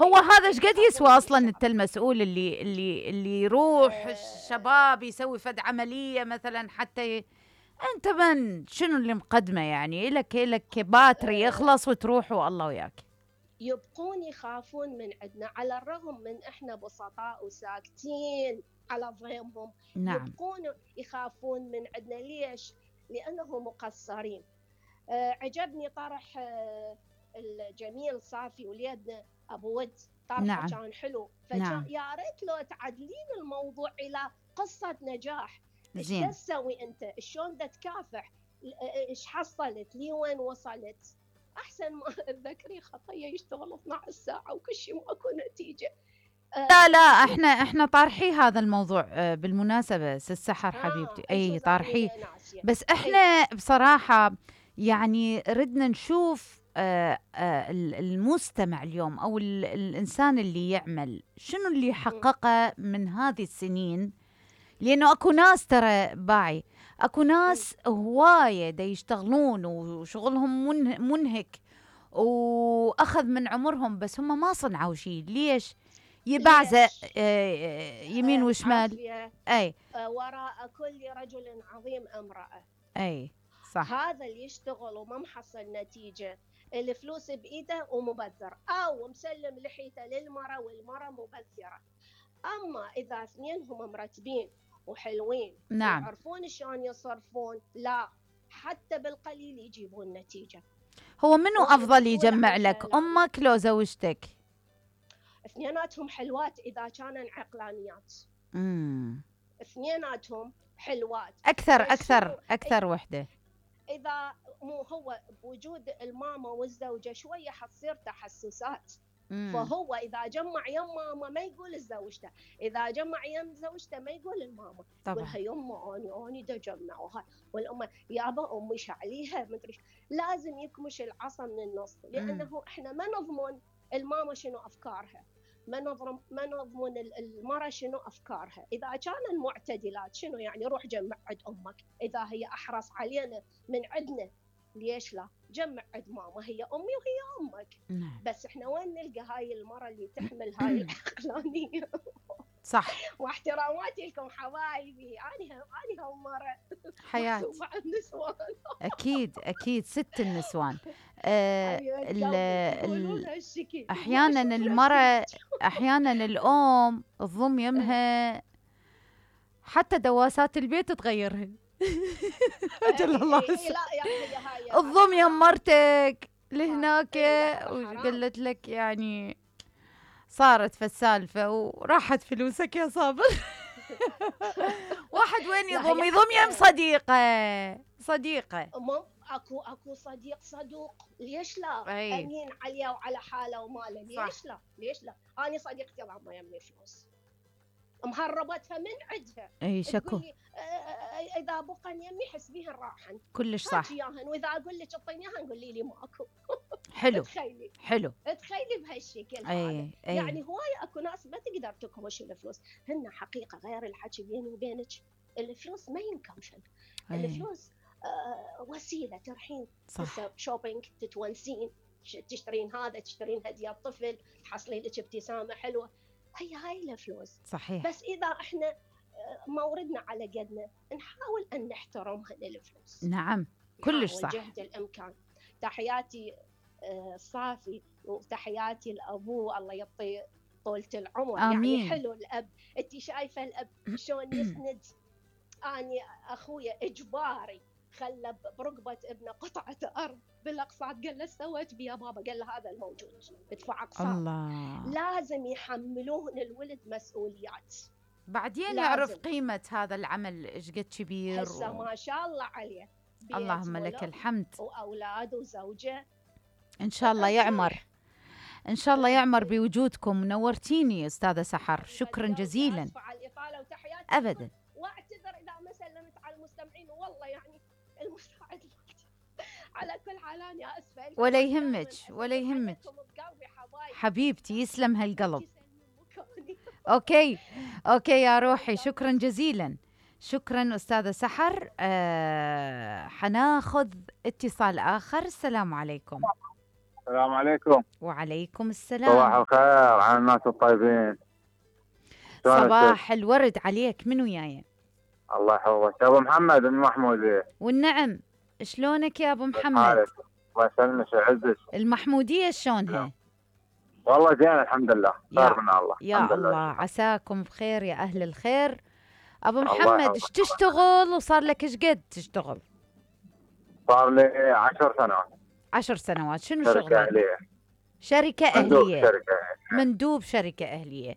هو هذا ايش قد يسوى اصلا؟ انت المسؤول اللي يروح الشباب يسوي فد عمليه مثلا حتى انت من شنو اللي مقدمه؟ يعني لك باتري يخلص وتروح والله وياك. يبقون يخافون من عندنا على الرغم من احنا بسطاء وساكتين على ضيمهم. نعم. يبقون يخافون من عندنا. ليش؟ لأنه مقصرين. عجبني طرح الجميل صافي وليدنا أبو ود، طرحه نعم. كان حلو. نعم. يا ريت لو تعدلين الموضوع إلى قصة نجاح. ايش زين. تسوي أنت؟ شلون تكافح؟ ايش حصلت؟ لي وين وصلت؟ أحسن ما تذكري خطية يشتغل 12 ساعة وكل شيء ماكو نتيجة. لا احنا طارحي هذا الموضوع بالمناسبة السحر حبيبتي. اي طارحي، بس احنا بصراحة يعني ردنا نشوف المستمع اليوم او الانسان اللي يعمل شنو اللي حققه من هذه السنين. لانه اكو ناس ترى باعي، اكو ناس هواية دا يشتغلون وشغلهم منهك واخذ من عمرهم، بس هم ما صنعوا شيء. ليش؟ يبعزق يمين وشمال. اي وراء كل رجل عظيم امرأة. اي صح. هذا اللي يشتغل وما محصل نتيجة، الفلوس بإيده ومبذر، أو مسلم لحيته للمرأة والمرأة مبذرة. أما إذا اثنينهم مرتبين وحلوين، نعم، يعرفون شلون يصرفون، لا حتى بالقليل يجيبون نتيجة. هو منو أفضل يجمع لك، أمك لو زوجتك؟ اثنيناتهم حلوات إذا كانوا عقلانيات. اثنيناتهم حلوات. أكثر وحدة. إذا مو هو بوجود الماما والزوجة شوية حتصير تحسسات. فهو إذا جمع يم ماما ما يقول لزوجته، إذا جمع يم زوجته ما يقول الماما، يقولها يما أني دا جمع، والأم يابا أمي شعليها مدري. لازم يكمش العصا من النص، لأنه إحنا ما نضمن الماما شنو أفكارها، ما نضمن المرأة شنو أفكارها. إذا كانوا معتدلات شنو يعني روح جمع عند أمك، إذا هي أحرص علينا من عندنا ليش لا جمع عند ماما، هي أمي وهي أمك. بس إحنا وين نلقى هاي المرأة اللي تحمل هاي العقلانية؟ صح. واحتراماتي لكم حبايبي، أنا هم مرة حياة النسوان. أكيد ست النسوان. أحيانا المرأة أحيانا الأم تضم يمها حتى دواسات البيت تغيرها. أجل الله الضم يم مرتك لهناك وقالت لك يعني صارت في السالفة وراحت فلوسك يا صابر. واحد وين يضم يم صديقة. اكو صديق صدوق، ليش لا؟ امين عليها وعلى حاله وماله، ليش لا؟ انا صديقتي الله ما يمني فلوس مهربتها من عندها. اي شكو اذا بقى يمي حسبيهن راحن كلش صح. واذا اقول لك اعطينيها قولي لي ماكو. حلو. تخيلي بهالشكل هذا. يعني هوايه اكو ناس ما تقدر تكمش الفلوس، هن حقيقه غير الحكي بيني وبينك، الفلوس ما ينكمشن. الفلوس وسيله ترحين، شوبينج، تتونسين، تشترين هذا، تشترين هديه الطفل، تحصلين لك ابتسامه حلوه، هاي الفلوس. صحيح. بس اذا احنا موردنا على قدنا نحاول ان نحترمها للفلوس. نعم كلش صح. جهد الامكان. تحياتي صافي وتحياتي الابو، الله يعطي طولة العمر. آمين. يعني حلو الاب، انت شايفه الاب شلون يسند. اني اخويا اجباري خلى برقبه ابنه قطعه ارض بالاقساط، قال له سويت بيا بابا؟ قال له هذا الموجود، ادفع اقساط. الله. لازم يحملون الولد مسؤوليات، بعدين يعرف قيمه هذا العمل ايش قد كبير. هسه ما شاء الله عليه، اللهم لك الحمد، واولاد وزوجه. ان شاء الله يعمر، ان شاء الله يعمر بوجودكم. نورتيني استاذه سحر، شكرا جزيلا. على الاطاله وتحياتي ابدا. واعتذر اذا ما سلمت على المستمعين، والله يعني المساعد على كل حال انا اسفه. ولا يهمك حبيبتي، يسلم هالقلب. اوكي يا روحي، شكرا جزيلا. شكرا استاذه سحر. حناخذ اتصال اخر. السلام عليكم. السلام عليكم. وعليكم صباح السلام. الخير على الناس الطيبين. صباح الورد عليك، من وياي؟ الله يحفظك ابو محمد من محموديه. والنعم، شلونك يا ابو محمد؟ الله يسلمك ويعزك. المحموديه شلونها؟ والله زين الحمد لله، خير من الله. يا الله عساكم بخير يا اهل الخير. ابو محمد ايش تشتغل وصار لك ايش قد تشتغل؟ صار لي 10 سنوات. 10 سنوات. شنو شركة شغلك؟ أهلية. شركة مندوب أهلية. شركة. مندوب شركة أهلية.